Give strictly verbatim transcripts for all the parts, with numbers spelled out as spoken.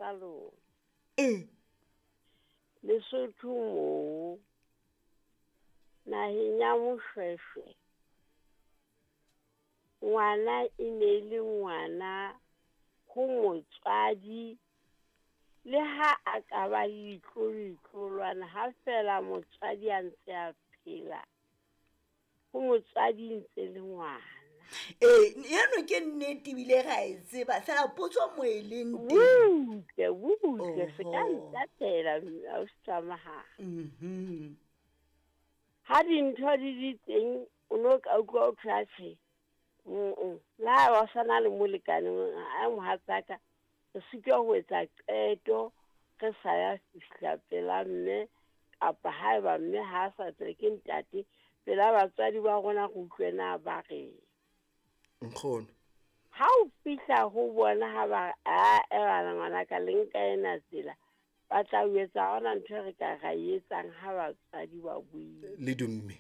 sa lona. Ee. Lesotho moo naheng ya Moshweshwe, ngwana e ne le ngwana ho motswadi, le ha a ka ba le ditlolo-ditlolwana, ha fela motswadi a ntse a phela, ho motswadi ntse le ngwana. Ee, eno ke nnete ebile ra e tseba, fela potso mo e leng teng. Butle, butle, se ka Oho. ntatela, ausi Tsamahang. Mhm. Ha dintho di di teng, o no ka utlwa ho thwe atjhe, mm-mm. Le ha ba sa na le molekane, a mohatsaka, re sitwa ho etsa qeto, re sa ya fihla pela mme, kapa haeba mme ha a sa tswe ke ntate, pela batswadi ba rona re utlwe na ba reng. Nkgono. Ha o fihla ho bona ha ba re, a, e bana ngwanaka, le nka ena tsela, ba tla o etsa ha hona ntho e re ka ra e etsang ha batswadi ba buile. Le dumme.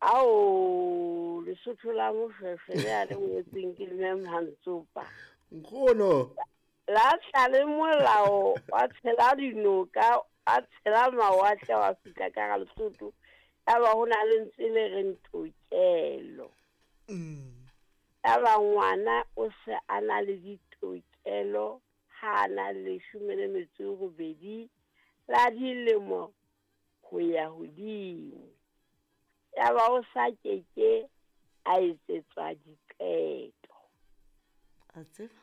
Ao, Lesotho la Moshweshwe le a le ngotseng ke Mme Mantsopa. Nkgono. La tla le molao wa tshela dinoka, wa tshela mawatle, wa fihla ka hara Lesotho. Yaba ho na le lentswe le reng tokelo. Mm. Yaba ngwana o se a na le ditokelo ha a na le leshome le metso e robedi la dilemo ho ya hodimo. Yaba o sa keke a etsetswa diqeto. A tseba?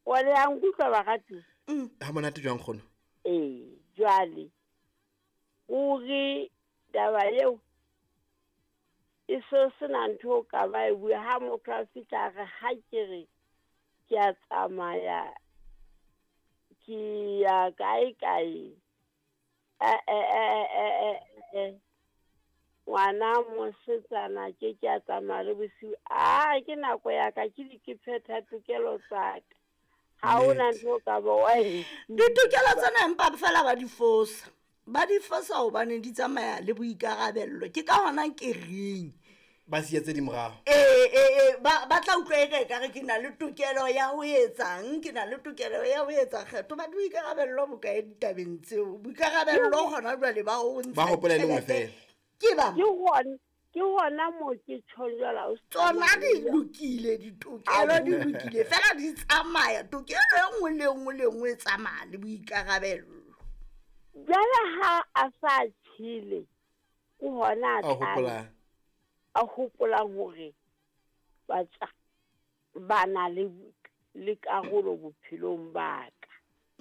Wa le a nkutlwa baratuwa? Mm. Ha monate jwang nkgono? Ee, jwale o re taba eo e so sena ntho o ka ba e bua. Ha motho a fihla a re ha ke re ke a tsamaya, ke ya kae kae, eh, eh, eh, eh, eh, eh, ngwana mosetsana ke ke a tsamaya le bosiu. Ah, ke nako ya ka, ke di ke phetha tokelo tsa ka. Ha hona Nnete. ntho o ka ba wa e Ditokelo tsena empa fela ba di fosa. Ba di fosa hobane di tsamaya le boikarabello. Ke ka hona ke reng Ba siya tse di morao. Ee, ee, ee, ba, ba tla utlwa eka ekare ke na le tokelo ya ho etsang, ke na le tokelo ya ho etsa kgetho. Ba boikarabello bo kae ditabeng tseo? Boikarabello hona jwale ba ho ntsha Ba hopola e le nngwe tjhelete. feela. Ke ba Ke hona, ke hona moo ke tjhong jwale, ausi Tsona di Tsamaya. lokile, ditokelo di lokile, fela di tsamaya. Tokelo e nngwe le e nngwe le e nngwe e tsamaya le boikarabello. Jwale ha a sa tjhele, ke hona a A tlang, hopolang. a hopolang hore batsa ba na le, le karolo bophelong ba ka.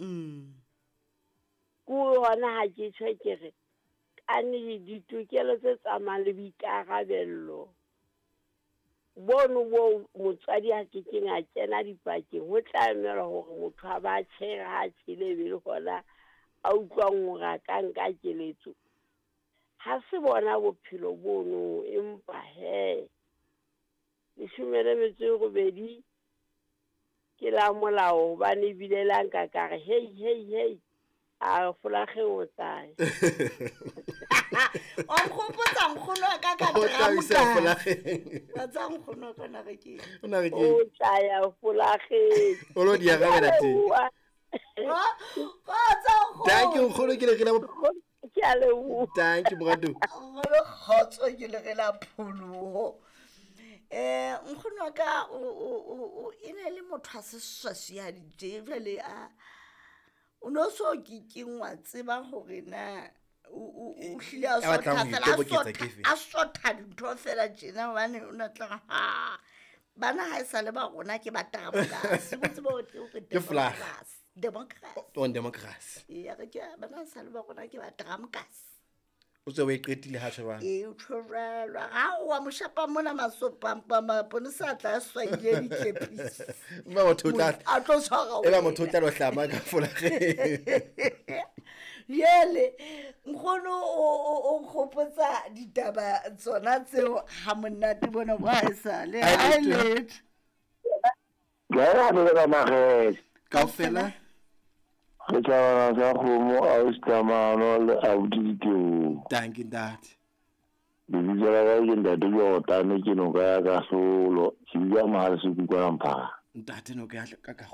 Mm. Ke hona ha ke tjho ke re, kane ditokelo tse tsamayang le boikarabello bono bo motswadi a kekeng a kena dipakeng, ho tla emelwa hore motho a ba tjhere ha a tjhele e be le hona a utlwang hore a ka nka keletso. Ha se bona bophelo bono, empa he leshome le metso e robedi ke la molao, hobane ebile la nka ka re hei, hei, hei, a folakgeng o tsaya. O nkgopotsa nkgono wa ka ka O tla isa dramokase. folakgeng. Wa tseba nkgono wa ka o na re keng? O na re keng? O tlaya folakgeng. O lo di arabela teng. Kgotsa nkgono. Thank you, nkgono, ke le re la bo- Ke a leboha. Thank you, moratuwa. Nkgono, kgotso, ke le re la pholoho. Eh, nkgono wa ka o, o, o, o, e ne le motho a seswaswihadi tje, jwale a, o no so ke keng wa tseba hore na o, o, o hlile a A batlang sotha ho fela, a itoboketsa sotha, ke efe? a sotha dintho fela tjena, hobane o na tla re, ha, bana ha e sa le ba rona ke ba democracy. O tsebe hore ke hore Ke flag. democracy. Democracy. On democracy. Ee, a re ke bana ha e sa le ba rona ke ba democracy. O tswe o e qetile ha tjho jwang? Ee, o tjho jwalo. Ha o wa mo shapa mona masopa, maponesa a tla a swaile ditlepisi. Eba motho o tla- A tlo tshwara Eba wena. motho o tla lo hlama ka folakgeng. Jwale, nkgono o, o, o nkgopotsa ditaba tsona tseo ha monate bona bo ha esale. Ha Ha e letho. letho. Ke a le ka makgethe. Kaofela? Re tjhabana sa kgomo, ausi Thamano le abuti Diteboho. Thank you, ntate. Lebitso la ka ke Ntate Jordane, ke noka ya Kahlolo, ke dula Mohale's Hoek kwana Mphaphahana. Ntate noka ya ka ka